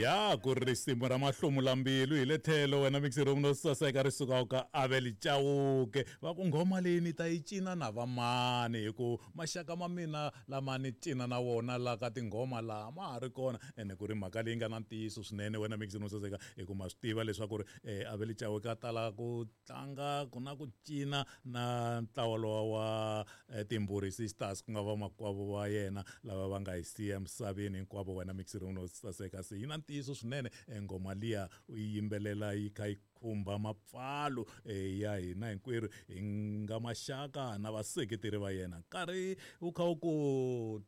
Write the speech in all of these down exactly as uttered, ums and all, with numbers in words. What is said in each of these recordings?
Ya ku ri risimu ra mahlomulambilu hi le tlhelo wena mixero no saseka ri sukaka ka Abel Chauke. Va ku nghoma leyi ni ta yi cina na vamani hi ku maxaka ma mina lama ni cina na wona la ka tinghoma laha ma ha ri kona. Ene ku ri mhaka leyi nga na ntiyiso swinene wena mixero no saseka hi ku ma swi tiva leswaku ri eh, Abel Chauke a tala ku tlanga ku na ku cina na ntlawa lowa wa eh, Timburi Sisters ku nga vamakwavo va yena lava va nga hi siya emisaveni hinkwavo wena mixero no saseka. Se yi na ntiyiso swinene nghoma liya u yi yimbelela yi kha yi khumba mapfalo eh, ya hina hinkwerhu hi nga maxaka na vaseketeri va yena. Nkarhi wu kha wu ku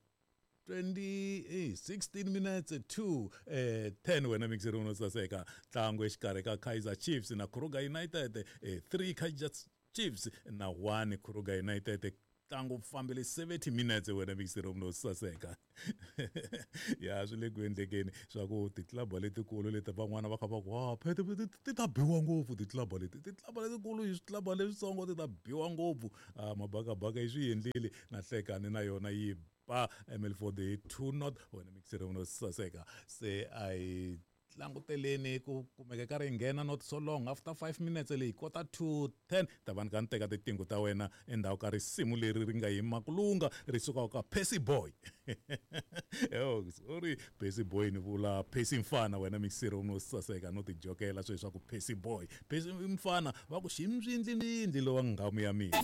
twenty eh, sixteen minutes to eh, ten wena mixero no saseka. Ntlangu exikarhi ka Kaizer Chiefs na Kruger United, eh, three Kaizer Chiefs na one Kruger United. Ntlangu wu fambile seventy minutes wena mixero no saseka. Ya swi le ku endlekeni swa ku titlaba letikulu leti van'wana va kha va ku wa phete ti ta biwa ngopfu titlaba leti titlaba letikulu hi switlaba leswitsongo ti ta biwa ngopfu. Ah, mabakabaka yi swi endlile na hlekani na yona yi ba M L four hi two not wena mixero no saseka. Se a hi languteleni ku kumeka ka ri nghena not so long after five minutes leyi kota to ten ta va ni ka ni teka tinqingho ta wena endzhaku ka risimu leri ri nga yima ku lunga ri sukaka ka Percy Boy. Yo, sorry Percy Boy ni vula Percy Mfana wena mixero no saseka no tijokela sweswi swa ku Percy Boy Percy Mfana va ku ximbyindlindli lowa nghamu ya mina.